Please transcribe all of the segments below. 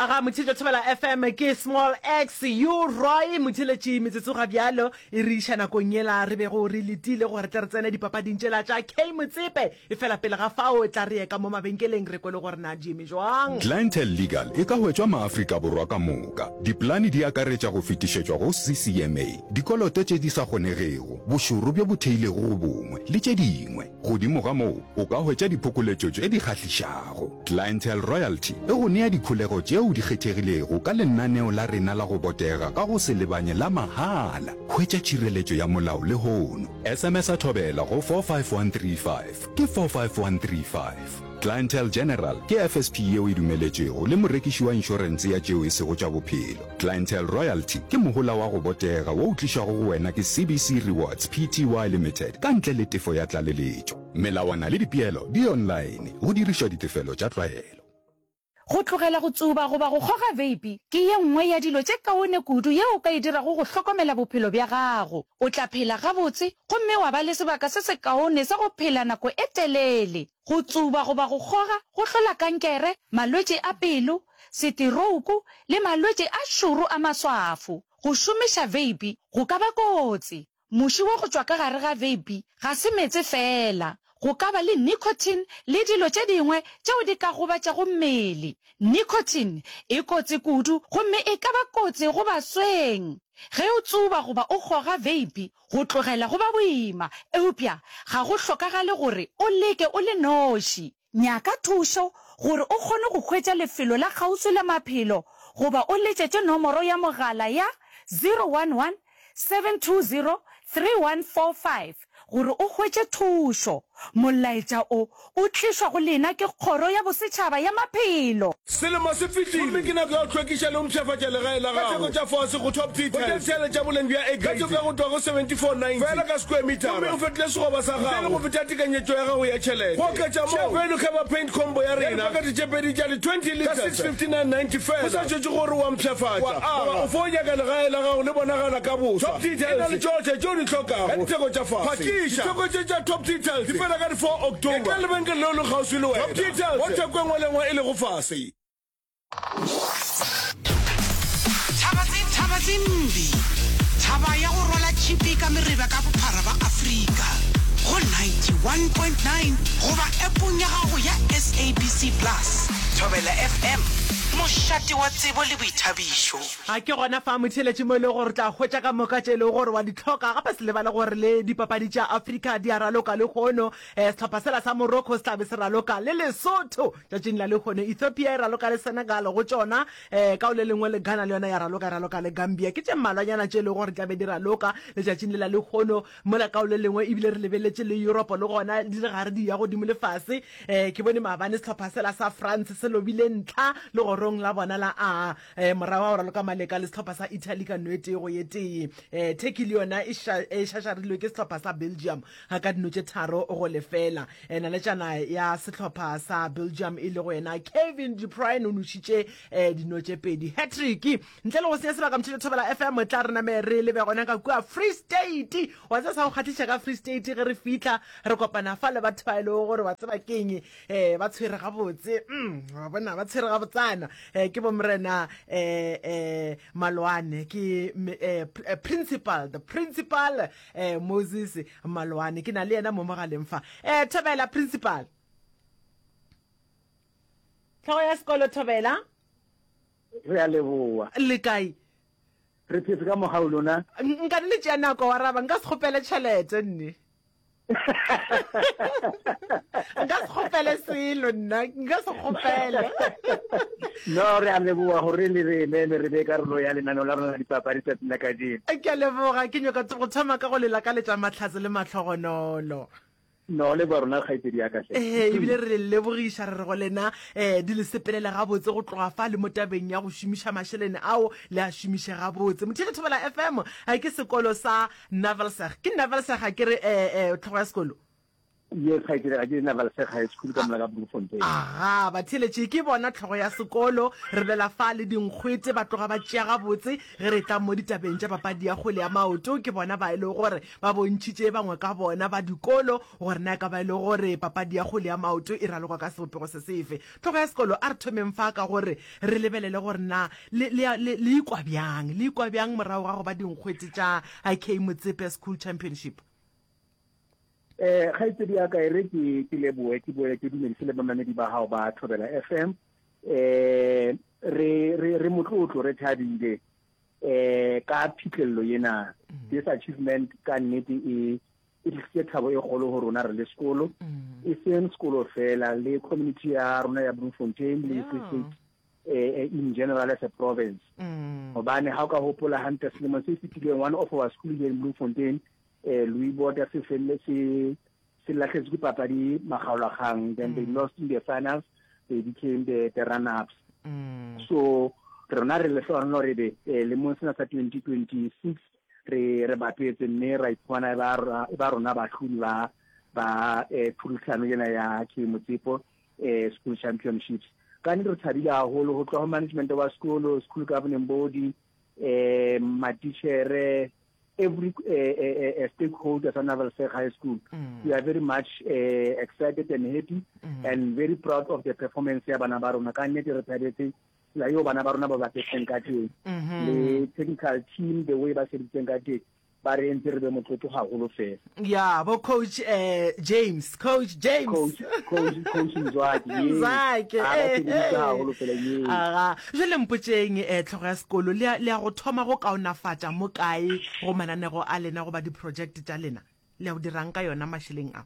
Aga Motheetša Thobela FM ke Small X U Roy Motheeletši metsotso ga bjalo e re iša nakong yela re bego re letile gore tle re tsene dipapading tšela tša K Motsepe efela pele ga fao tla re ye ka mo mabenkeleng re kwe le gore na di eme jwang. Clientele Legal e ka hwetšwa maAfrika Borwa ka moka. Dipolane di akaretša go fetišetšwa go CCMA, dikoloto tše di sa kgonegego, bošoro bjo bo theilego go bongwe, le tše dingwe. Godimo ga moo, o ka hwetša diphokoletšo tše di kgahlišago. Clientele Royalty e go nea dikholego tšeo di kgethegilego ka lenaneo la rena la go botega ka go se lebanye la mahala. Hwetša tšhireletšo ya molao lehono. SMS-a Thobela go 45135. Ke 45135. Clientele General ke FSP yeo e dumeletšwego le morekiši wa inšorense ya tšeo e sego tša bophelo. Clientele Royalty ke mohola wa go botega wo o tlišwago go wena ke CBC Rewards Pty Limited ka ntle le tefo ya tlaleletšo. Melawana le dipeelo di online go dirišwa ditefelo tša tlwaelo. Go tlogela go tsuba goba go kgoga veipi ke ye nngwe ya dilo tše kaone kudu yeo o ka e dirago go hlokomela bophelo bja gago. O tla phela gabotse gomme wa ba le sebaka se sekaone sa go phela nako e telele. Go tsuba goba go kgoga go hlola kankere, malwetši a pelo, seterouku le malwetši a šoro a maswafo. Go šomiša veipi go ka ba kotsi. Muši wa go tšwa ka gare ga veipi ga se meetse feela. Go ka ba le nicotine le dilo tše dingwe tšeo di ka gobatšago mmele. Nicotine e kotsi kudu gomme e ka ba kotsi go basweng. Ge o tsuba goba o kgoga veipi, go tlogela go ba boima, eupša ga go hlokagale gore o leke o le noši. Nyaka thušo gore o kgone go hwetša lefelo la kgauswi la maphelo goba o letšetše nomoro ya mogala ya 011 720 3145 gore o hwetše thušo. Molaetša o o tlišwa go lena ke Kgoro ya Bosetšhaba ya Maphelo. Selemo se fetile gomme ke nako ya go hlwekiša le go mpshafatša legae la gago ka theko tša fase go Top Tea Tiles. Hwetša dithale tša boleng bja A grade ka theko ya go tloga go 74.90 feela ka square metara gomme o fetole sekgoba sa gago ntle le go feta tekanyetšo ya gago ya tšhelete. Go oketša moo, Value Cover Paint Combo ya rena ya dipakete tše pedi tša di 20 litres ka 659.90 feela. Go sa šetšwe gore o a mpshafatša goba o fo nyaka legae la gago le bonagala ka boswa, Top Tea Tiles e na le tšohle tše o di hlokago ka ditheko tša fase. Phakiša! Ditheko tše tša Top Tea Tiles di fela ka di 4 October. Etla lebenkeleng leo le kgauswi le wena. Top Tea Tiles, mo theko e nngwe le e nngwe e lego fase. Thaba tse thaba tse mbi Thaba ya go rwala tšhipi ka mereba ka bophara ba Afrika go 91.9 goba appong ya gago ya SABC Plus. Thobela FM, mošate wa tsebo le boithabišo. A ke gona fa motheeletši mo e lego gore o tla hwetša ka moka tše e lego gore wa di hloka. Gape se lebale gore le dipapadi tša Afrika di a raloka lehono. Sehlopha sela sa Morocco se tla be se raloka le Lesotho tšatšing la lehono. Ethiopia e raloka le Senegal go tšona. Ka go le lengwe le Ghana le yona ya raloka, e raloka le Gambia. Ke tše mmalwanyana tše e lego gore di tla be di raloka letšatšing le la lehono. Mola ka go le lengwe ebile re lebeletše le Europe le gona di le gare di ya godimo le fase. Ke bone maabane sehlopha sela sa France se lobile ntlha legorong la bona la A. Morago ga go raloka maleka le sehlopha sa Italy ka no e tee go ye tee. Turkey le yona e šašarilwe ke sehlopha sa Belgium ka dino tše tharo go lefela. Naletšana ya sehlopha sa Belgium e lego yena Kevin De Bruyne o nošitše dino tše pedi, hat-trick. Ntle le go senya sebaka Mtšhetšo Thobela FM tla re name re lebe gona ka kua Free State. Wa tseba sa go kgahliša ka Free State ge re fihla re kopana fa le batho ba e lego gore wa tseba keng eh ba tshwere gabotse mm, wa bona ba tshwere gabotsana eh, ke bomorena eh, eh, Malwane ke eh, eh, principal the principal eh, Moses Malwane ke na le yena mo mogaleng fa eh, Thobela principal tlhogo ya sekolo Thobela Re a leboa. Le kae? Re phetse ka mogau lona. Nka le tšea nako wa raba nka se kgopele tšhelete nne. Nka se kgopele selo nna nka se kgopele. No re a leboa gore le re emele re be karolo ya lenaneo la rona la dipapadi tsatsing la kajeno. Ke a leboga ke nyaka go thoma ka go le lakaletša mahlatse le mahlogonolo. No, le ba rona kgaitsedi ya ka hle. Ee, ebile re le lebogiša re re go lena um di le sepelele gabotse go tloga fa le mo tabeng ya go šomiša mašelene ao le a šomiše gabotse. Motheetši Thobela FM a ke sekolo sa Navalseg. Ke Navalseg a ke re um tlhogo ya sekolo? Yes, kgaetšedi, ga ke Navalseg High School ka mola ka Bloemfontein. Aga, batheeletši, ke bona hlogo ya sekolo, re bolela fa le dinkgwete, ba tloga ba tšea gabotse ge re tla mo ditabeng tša papadi ya kgwele ya maoto. Ke bona ba e lego gore ba bontšhitše bangwe ka bona ba dikolo gore na e ka ba e le gore papadi ya kgwele ya maoto e ralokwa ka sebopego se sefe. Hlogo ya sekolo, a re thomeng fa ka gore re lebelele gore na le, le, le, le ikwa bjang, le ikwa bjang morago ga go ba dinkgwete tša IK Motsepe School Championship. Eh, kgaitsedi ya ka e re ke ke leboe ke boele ke dumedise le bamamedi ba gago ba Thobela FM. Eh, re re re motlotlo re thabile eh ka phitlhelelo ena. Mm. This achievement ka nnete e e tlisitse thabo e kgolo go rona re le sekolo. Mm. E seng sekolo fela le community ya rona ya Bloemfontein le Free State eh, eh, in general as a province. Mm. Hobane ha o ka hopola hantle selemo se fetileng one of our school here in Bloemfontein eh Louis Bota se felle se se lahletswe ke papadi makgaolakgang then mm. they lost in the finals they became the, the runner ups mm. so rona re lehlohonolo re be eh, lemong sena sa 2026 re re bapetse mme ra iphumana e ba e ba rona bahlodi ba ba eh, phurusano ena ya ke Motsepo eh, school championships ka nnete re thabile haholo ho tloha ho management wa sekolo school governing body eh matitjhere every uh, uh, uh, stakeholders at Navalseg High School. Mm. We are very much uh, excited and happy mm. and very proud of the performance ya bana ba rona. Ka nnete re thabetse tsela eo bana ba rona ba bapetseng ka teng. Mm-hmm. Le technical team the way ba sebeditseng ka teng. Ba re entse re be motlotlo haholo fela. Ya, bo coach eh, James, coach James. Coach coach coach Mzwaki. Mzwaki. A ba sebeditse haholo fela ye. Aga, jwale mpotšeng eh, tlhogo ya sekolo le ya go thoma go kaonafatša mo kae go mananego a lena goba di-project tša lena? Le ya go dirang ka yona mašeleng a?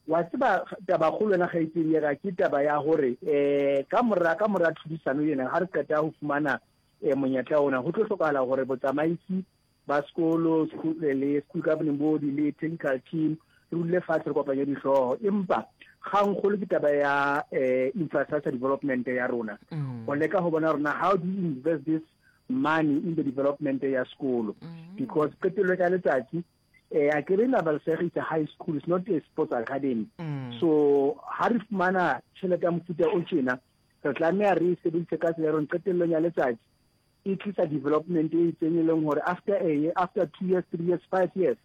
Wa tseba tabakgolo yona kgaitsedi ya ka ke taba ya gore um ka mora ka mora tlhodisano ena ga re qeta go fumana um monyetla ona go tlo hlokagala gore botsamaisi ba sekolo le school governing body le technical team re dule fatshe re kopanye dihlooho empa kgangkgolo ke taba ya eh, infrastructure development ya rona mm. go leka go bona rona how do you invest this money in the development ya sekolo mm. because qetello ka letsatsi eh a kere Navalseg is a high school it's not a sports academy mm. so ha re fumana tjhelete ya mofuta o tjena re tlameha re e sebedise ka tsela ya rona qetellong ya letsatsi e tlisa development e itseng e leng gore after a year, after two years, three years, five years,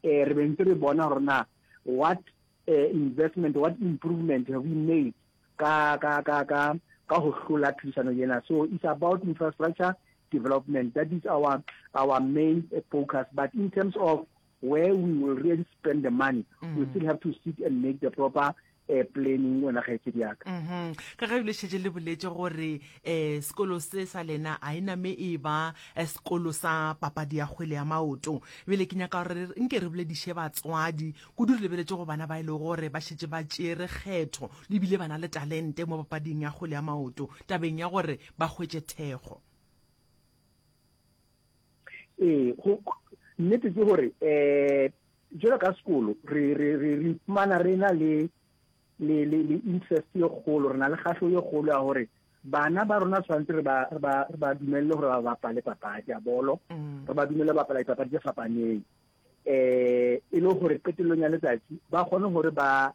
eh, re be ntse re bona gore na what eh, investment, what improvement have we made ka ka ka ka ka ho hlola tlhodisano ena. So it's about infrastructure development. That is our our main eh, focus. But in terms of where we will really spend the money, mm. we still have to sit and make the proper eh, planning wena kgaetšedi ya ka. Mhm. Ka ge le šetše le boletše gore eh sekolo se sa lena a e name e ba eh, sekolo sa papadi ya kgwele ya maoto. Bjale ke nyaka gore nke re bolediše batswadi kudu re lebeletše go bana ba e lego gore ba šetše ba tšere kgetho le bile ba na le talente mo papading ya kgwele ya maoto tabeng ya gore ba hwetše thekgo. Ee, go nnete ke gore eh Jwalo ka sekolo, re, re, re, re iphumana re na le, le, le, le interest ye kgolo, re na le kgahleho ye kgolo ya gore bana ba rona tshwanetse re ba, re ba, re ba dumelle gore ba bapale papadi ya bolo, mm. re ba dumelle go bapala dipapadi tse fapaneng. Eh, e le gore qetellong ya letsatsi ba kgone gore ba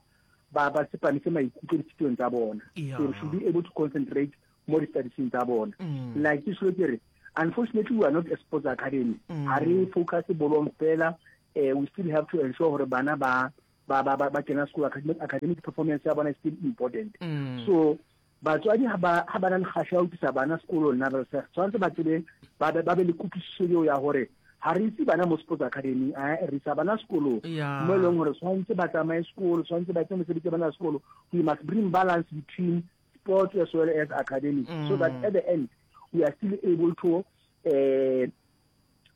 ba ba tsepamise maikutlo dithutong tsa bona. Yeah. They should be able to concentrate mo di-studiesng tsa bona. Mm. Like ke selo ke re unfortunately we are not a sports academy. Mm. Ha re focus bolong fela eh, we still have to ensure gore bana ba ba ba ba kena sekolo academic, academic performance ya bona is still important. Mm. So batswadi ha ba ha ba na le kgahleho ya ho tlisa bana sekolong na ba tshwanetse ba tsebe ba be ba be le kutlwisiso eo ya gore ha re ise bana mo sports academy a re isa bana sekolong mo e leng gore tshwanetse ba tsamaye sekolo tshwanetse ba etse mesebetsi ya bana sekolo we must bring balance between sports as well as academics mm. so that at the end we are still able to uh,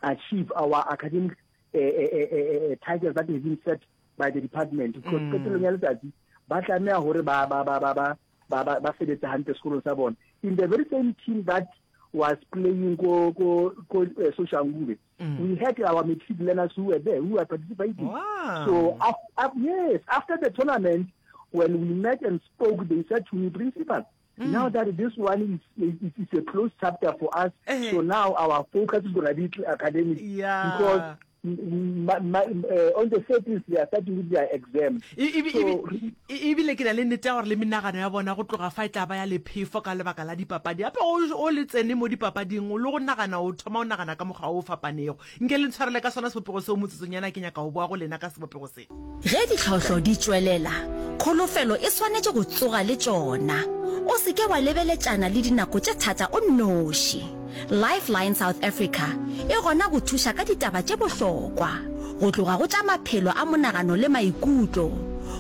achieve our academic uh, uh, uh, targets that have been set by the department because mm. qetellong ya letsatsi ba tlameha hore ba ba ba ba ba ba ba ba sebetse hantle sekolong sa bona in the very same team that was playing ko ko ko uh, Soshanguve mm. we had our matric learners who were there who were participating wow. so af, af, yes after the tournament when we met and spoke they said to me principal Mm. Now that this one is, is, is a closed chapter for us, uh -huh. so now our focus is going to be academic. Yeah. Because Eh, on the 13th they are starting with their exam. Ebile ke na le nnete ya gore le menagano ya bona go tloga fa e tla ba ya lephefo ka lebaka la dipapadi. Gape o le tsene mo dipapading le go nagana o thoma o nagana ka mokgwa o fapanego. Nke le ntshwarele ka sona sebopego seo motsotsonyana ke nyaka go boa go lena ka sebopego se. Ge ditlhohlo di tšwelela, kholofelo e swanetše go tsoga le tšona. O se ke wa lebeletšana le dinako tše thata o nnoši. Lifeline South Africa e gona go thuša ka ditaba tše bohlokwa, go tloga go tša maphelo a monagano le maikutlo,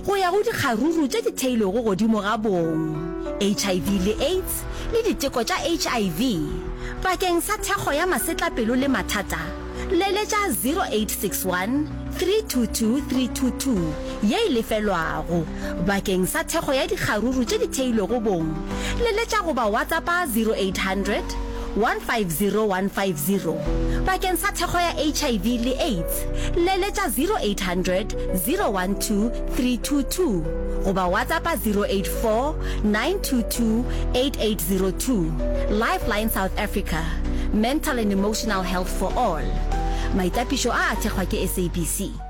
go ya go dikgaruru tše di theilwego godimo ga bong, HIV le AIDS le diteko tša HIV. Bakeng sa thekgo ya masetlapelo le mathata, Leletša 0861 322 322 ye e lefelwago. Bakeng sa thekgo ya dikgaruru tše di theilwego bong, leletša goba WhatsAppa 0800 150 150. Bakeng sa thekgo ya HIV le AIDS, leletša 0800 012 322 goba WhatsAppa 084 922 8802. Lifeline South Africa, Mental and Emotional Health for All. Maitapišo a a thekgwa ke SABC.